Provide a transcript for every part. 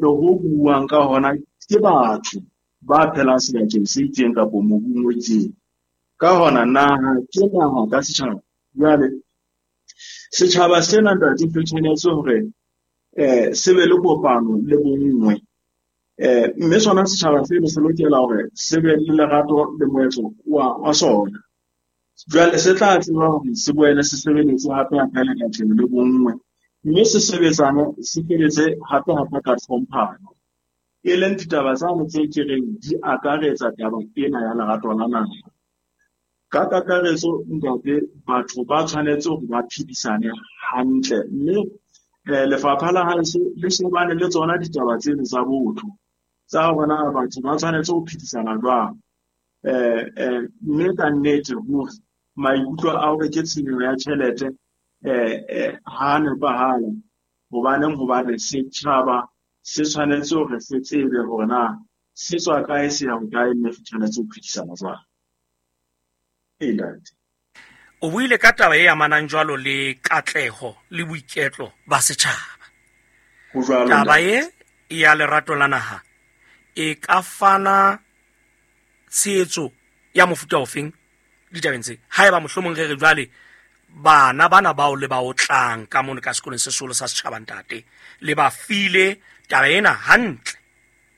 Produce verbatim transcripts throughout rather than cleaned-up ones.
Hantle-ntle ho buuwang ka hona ke batho ba phelang sebakeng se itseng kapa mobung o itseng. Ka hona naha ke naha ka setjhaba. Jwale setjhaba sena ntate se tshwanetse hore eh se be le kopano le bonngwe. Eh mme sona setjhaba seno se lokela hore se be le lerato le moetlo wa wa sona. Jwale se tla tseba hore se boele se sebeletse hape hape le katleho le bonngwe, mme se sebetsane se sebetse hape hape ka tlhomphano. E leng ditaba tsane tse ke reng di akaretsa taba ena ya lerato la naha. Ka kakaretso ntate, batho ba tshwanetse hore ba phedisane hantle, mme eh, lefapha la haeso le shebane le tsona ditaba tseno tsa botho tsa hore na batho ba tshwanetse ho phedisana jwang. Eh, eh, mme ka nnete hore maikutlo a hore ke tshenyo ya tjhelete eh, eh, ha nepahala. Hobaneng? Hobane setjhaba se tshwanetse hore se tsebe hore na se tswa kae, se ya hokae, mme se tshwanetse ho phedisana jwang. Ee, ntate. O buile ka taba e amanang jwalo le katleho le boiketlo ba setjhaba. Ho jwalo, Taba ntate. e ya lerato la naha e ka fana tshehetso ya mofuta ofeng ditabeng tse? Haeba mohlomong re re jwale bana bana bao le ba otlang ka mono ka sekolong se seholo sa setjhaba ntate, le ba file taba ena hantle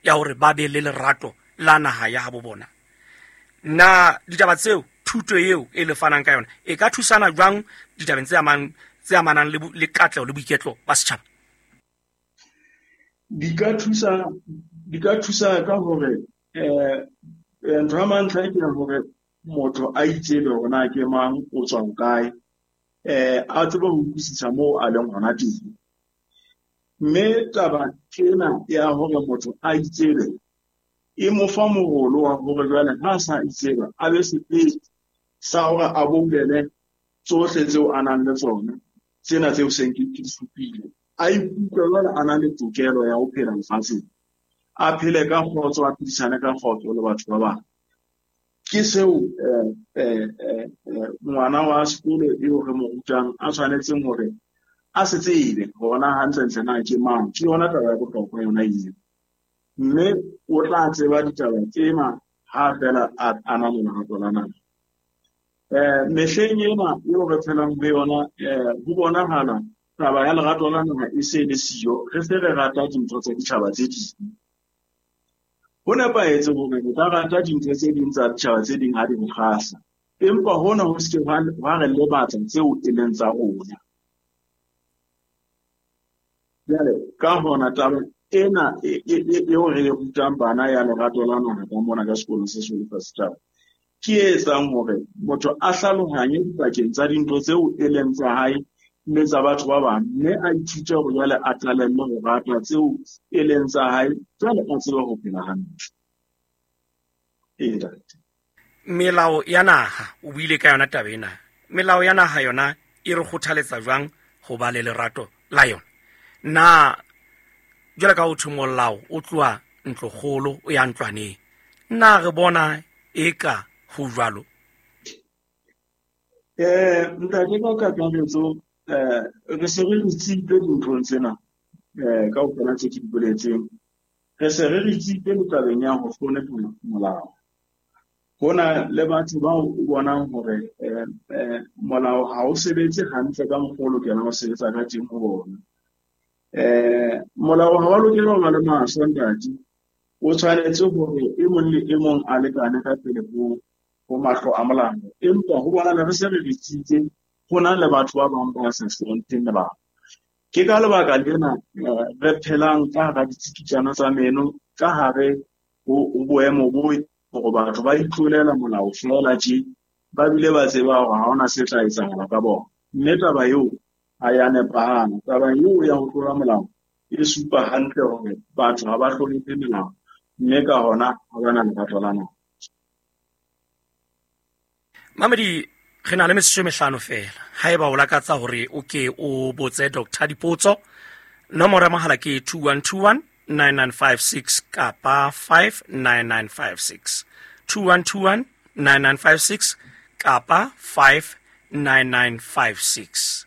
ya hore ba be le lerato la naha ya habo bona. Na ditaba tseo, thuto eo e le fanang ka yona e ka thusana jwang ditabeng tse amang, tse amanang le, le katleho le boiketlo ba setjhaba? Di ka thusa, di ka thusa ka hore eh, eh, ntho ya mantlha ke hore motho a itsebe hore na ke mang, o tswa hokae, eh, a tsebe ho utlwisisa moo a leng hona teng. Mme taba ena ya hore motho a itsebe e mo fa morolo wa hore jwale ha a sa itseba, a be sepete sa hore a boulele tsohle tseo a nang le tsona, tsena tseo seng ke di supile. A ikutlwe jwale a na le tokelo ya ho phela lefatsheng, a phele ka kgotso, a phedisane ka kgotso le batho ba bang. Ke seo eh, eh, eh, eh, ngwana wa sekolo eo re mo rutang a tshwanetseng hore a se tsebe hore na hantlentle na ke mang. Ke yona taba ya bohlokwa yona eo. Mme o tla tseba ditaba tsena ha feela a, a na le lerato la naha. Eh, mehleng ena eo re phelang ho yona, eh, ho bonahala taba ya lerato la naha e se le siyo. Re se re rata dintho tsa ditjhaba tse ding. Ho nepahetse hore re ka rata dintho tse ding tsa ditjhaba tse ding ha di re kgahla, empa hona ho se ke hwa hwa re lebatsa tseo e leng tsa rona. Jwale ka hona taba ena e, e, e, eo re e rutang bana ya lerato la naha ka mona ka sekolong se seholo sa setjhaba, ke e etsang hore motho a hlalohanye dipakeng tsa dintho tseo e leng tsa hae le tsa batho ba bang, mme a ithute hore jwale a qalelle ho rata tseo e leng tsa hae, jwale a tsebe ho phela hantle. Ee, ntate. Melao ya naha, o buile ka yona taba ena. Melao ya naha yona e re kgothaletsa jwang ho ba le lerato la yona? Na jwale ka ho thwe molao o tloha ntlokgolo o ya ntlwaneng, na re bona eka ho jwalo? Eh, ntate, ka kakaretso, eh, re se re ritsitse dinthong tsena, eh, kaofela tse ke di boletseng. Re se re ritsitse le tabeng ya ho hlonepha molao. Ho na le batho bao o bonang hore, eh, eh, molao ha o sebetse hantle ka mokgwa o lokelang ho sebetsa ka teng ho bona. Eh, molao ha wa lokela ho ba le mahlo, ntate. O tshwanetse hore e mong le e mong a lekane ka pele ho, ho mahlo a molao. Empa ho bonahala re se re ritsitse, ho na le batho ba bang ba sa hlompheng melao. Ke ka lebaka lena, eh, re phelang ka hara ditsikitlano tsa meno, ka hare ho, ho boemo bo hore batho ba itlolela molao feela tje, ba bile ba tseba hore ha hona se tla etsahala ka bona. Mme taba eo ha ya nepahala. Taba eo ya ho tlola molao e supa hantle hore batho ha ba hlonephe melao, mme ka hona ha ba na lerato la naha. Mamedi, re na le metsotso e mehlano feela. Haeba o lakatsa hore o ke o botse Doctor dipotso, nomoro ya mohala ke two one two one nine nine five six kapa five nine nine five six. two one two one nine nine five six kapa five nine nine five six.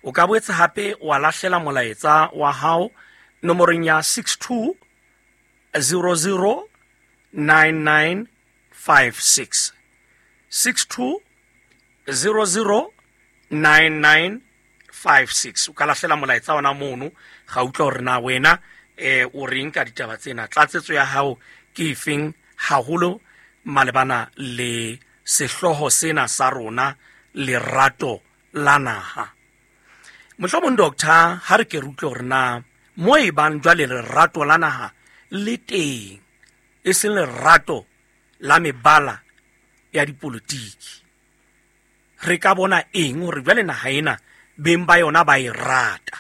O ka boetse hape wa lahlela molaetsa wa hao Nomorong ya six two zero zero nine nine five six. six two zero zero nine nine five six. O ka lahlela molaetsa ona mono, ga utlwa hore na wena eh o reng ka ditaba tsena, tlatsetso ya hao ke efeng haholo malebana le sehlooho sena sa rona, lerato la naha. Mohlomong doctor, ha re ke re utlwe hore na mo e bang jwale lerato la naha le teng, e seng lerato la mebala ya dipolotiki, re ka bona eng hore jwale naha ena beng ba yona ba e rata?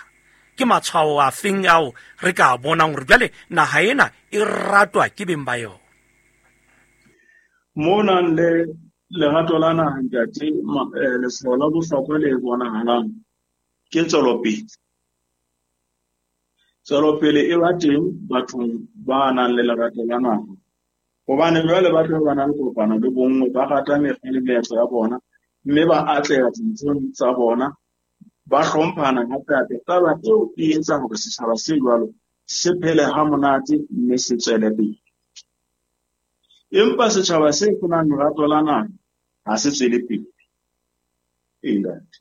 Ke matshwao a feng ao re ka bonang hore jwale naha ena e ratwa ke beng ba yona? Mo nang le lerato la naha, ntate, letshwao la bohlokwa le bonahalang ke tswelopele. Tswelopele e ba teng bathong ba nang le lerato la naha, hobane jwale ba tla ba na le kopano le bonngwe, ba rata mekgwa le meetlo ya bona, mme ba atleha dinthong tsa bona, ba hlomphana hape. Taba eo e etsa hore setjhaba se jwalo se phele ha monate mme se tswele pele. Empa setjhaba se senang lerato la naha ha se tswele pele. Ee, ntate.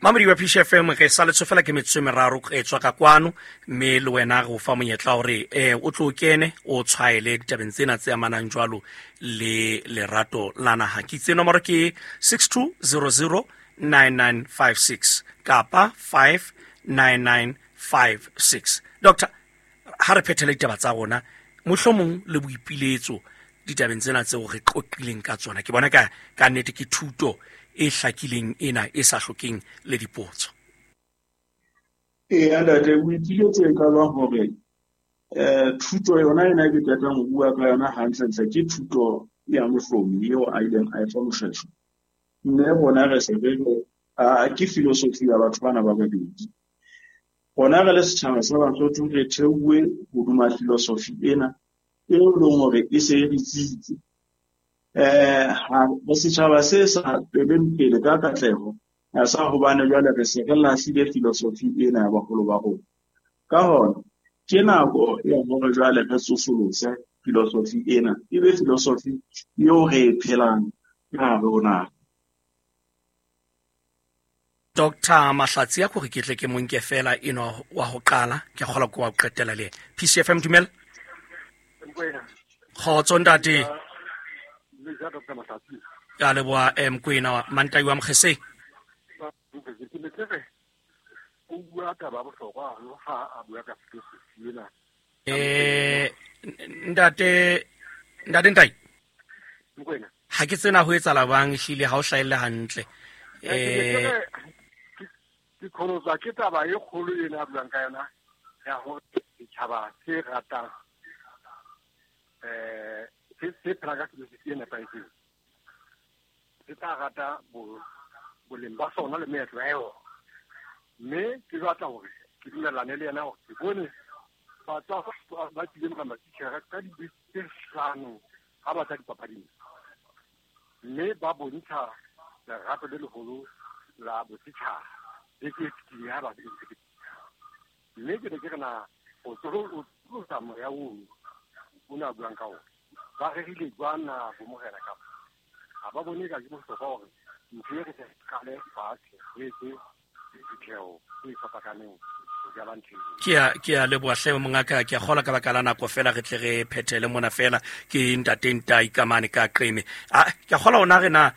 Mamedi wa P C F M, re sa le tsofela ke metsotso e meraro e tswa ka kwano, mme le wena re o fa monyetla hore eh o tlo kene o tshwaele ditabeng tsena tse amanang jwalo le lerato la naha. Ke itse nomoro ke six two zero zero nine nine five six kapa five nine nine five six. Doctor, ha re phethele ditaba tsa rona, mohlomong le boipiletso ditabeng tsena tseo re qoqileng ka tsona, ke bona ka ka nnete ke thuto e hlakileng ena e sa hlokeng le dipotso. Ee, ntate, boipiletso e ka ba hore eh thuto yona ena ke qetang ho bua ka yona hantlentle ke thuto ya Mohlomi eo a ileng a e fa Moshweshwe. Mme rona re se re re ke filosofi ya batho bana ba babedi. Rona re le setjhaba sa Basotho re theuwe hodima filosofi ena eo e leng hore e se e re tsitse. Eh ha setjhaba se sa tsweleng pele ka katleho ha sa hobane jwale re se re lahlile filosofi ena ya baholo ba rona. Ka hona ke nako ya hore jwale re tsosolose filosofi ena, e be filosofi eo re e phelang ka hare ho naha. Doctor Mahlatsi, a ko re ke tle ke mo nke fela eno wa ho qala, ke kgolwa ke wa ho qetela le yena. P C F M, dumela. Kgotso ntate. Ke a leboha, eh, Mokoena, Mantai wa Mokgeseng. Eh, ntate, ntate Ntai. Ha ke tsena ho etsahala bang ehlile ha o hlahelle hantle. Eh, ke kholotswa ke taba e kgolo ena a buang ka yona ya hore setjhaba se ratang eh se se phela ka filosofi e nepahetseng, se tla rata boleng ba sona le meetlo ya yona. Mme ke batla hore ke dumellane le yena hore ke bone batho ba tlileng ka matitjhere ka dibese tse hlano ha ba tla dipapading, mme ba bontsha lerato le leholo la bosetjhaba le ke fetileng ha ba. Mme ke ne ke re na o tsolosa moya ono o ne a buang ka ona, ba rerile jwang na bo morena kapa ha ba bone ka ke bohlokwa hore ntho e re se qale fatshe re etse diphutheho tse fapakaneng. Ke a ke a leboha hle mongaka, ke a kgola ka baka la nako fela re tle re phethele mona fela ke ntate Ntai Kamane ka Qeme. A ke a kgola ona re na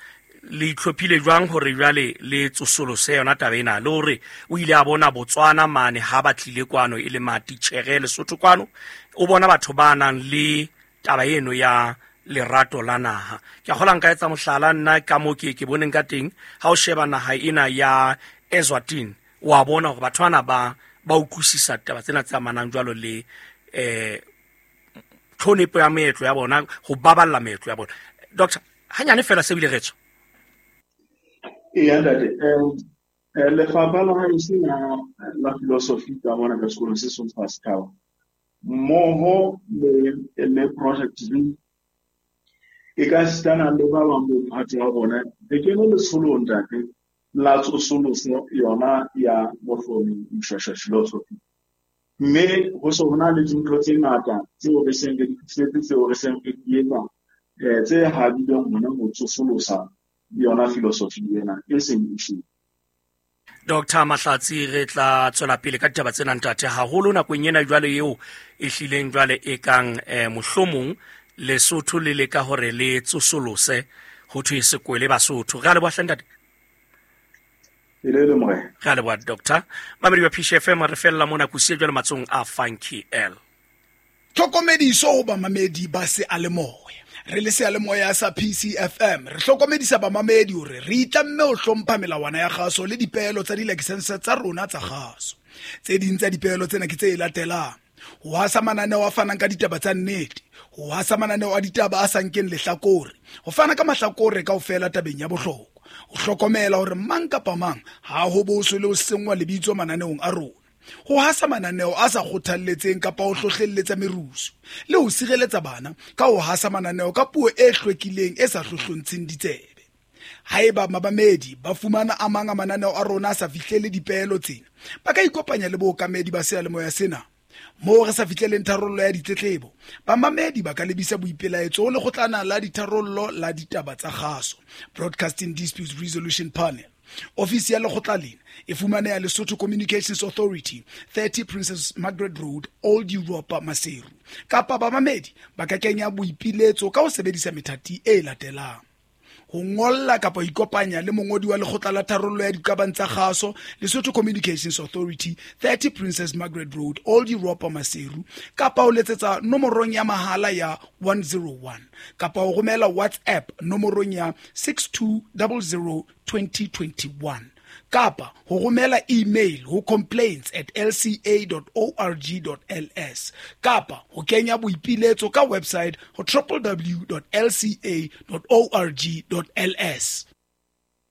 le itlhophile jwang hore jwale le tsosolose yona taba ena, le hore o ile a bona Botswana mane ha ba tlile kwano e le matitjhere Lesotho kwano, o bona batho ba nang le taba eno ya lerato la naha. Ke a kgola nka etsa mohlala nna ka mo ke ke boneng ka teng, ha o sheba naha ena ya Eswatini, wa bona hore batho bana ba ba utlwisisa taba tsena tse amanang jwalo le eh tlhonepo ya meetlo ya bona, ho baballa meetlo ya bona. Doctor, hanyane fela se bile re tswa. Ee, ntate, eh lefapha la haeso la la filosofi ka mona ka sekolong se seng sa setjhaba mmoho le le project e ka sitana le ba bang bo mphato wa bona, re kene letsholong ntate la tsosoloso yona ya Mohlomi Moshoeshoe philosophy. Mme ho se ho na le dintho tse ngata tseo re seng re di fihletse, tseo re seng re di etsa, eh, tse habileng hona ho tsosolosa yona philosophy ena e seng e shwele. Doctor Mahlatsi, re tla tswela pele ka ditaba tsena ntate, haholo nakong ena jwale eo e hlileng jwale e kang, eh, mohlomong Lesotho le leka hore le tsosolose ho thwe sekwele Basotho. Re a leboha hle ntate. E le le morena. Re a leboha doctor. Mamedi wa P C F M, re fella mona kusiye jwale matsong a Funky L. Tlhokomediso ho bamamedi ba seyalemoya. Re le seyalemoya sa P C F M, re hlokomedisa bamamedi hore re itlamme ho hlompha melawana ya kgaso le dipeelo tsa dilakesense tsa rona tsa kgaso. Tse ding tsa dipeelo tsena ke tse latelang: ho hasa mananeo a fanang ka ditaba tsa nnete, ho hasa mananeo a ditaba a sa nkeng lehlakore, ho fana ka mahlakore kaofela tabeng ya bohlokwa, ho hlokomela hore mang kapa mang ha ho boswe le ho senngwa lebitso mananeong a rona, ho hasa mananeo a sa kgothalletseng kapa ho hlohlelletsa merusu, le ho sireletsa bana ka ho hasa mananeo ka puo e hlwekileng e sa hlohlontsheng ditsebe. Haeba mabamedi ba fumana a mang a mananeo a rona a sa fihlele dipeelo tsena, ba ka ikopanya le bookamedi ba seyalemoya sena. Moo re sa fihleleng tharollo ya ditletlebo, bamamedi ba ka lebisa boipelaetso ho lekgotlana la ditharollo la ditaba tsa kgaso, Broadcasting Disputes Resolution Panel. Ofisi ya lekgotla lena e fumaneha Lesotho Communications Authority, thirty Princess Margaret Road, Old Europa, Maseru. Kapa bamamedi ba ka kenya boipiletso ka ho sebedisa methati e latelang: ho ngolla kapa ho ikopanya le mongodi wa lekgotla la tharollo ya diqabang tsa kgaso, Lesotho Communications Authority, thirty Princess Margaret Road, Old Europa, Maseru, kapa ho letsetsa nomorong ya mahala ya one zero one, kapa ho romela WhatsApp nomorong ya six two double zero twenty twenty-one, kapa ho romela email ho complaints at l c a dot org dot l s, kapa ho kenya boipiletso ka website ho w w w dot l c a dot org dot l s.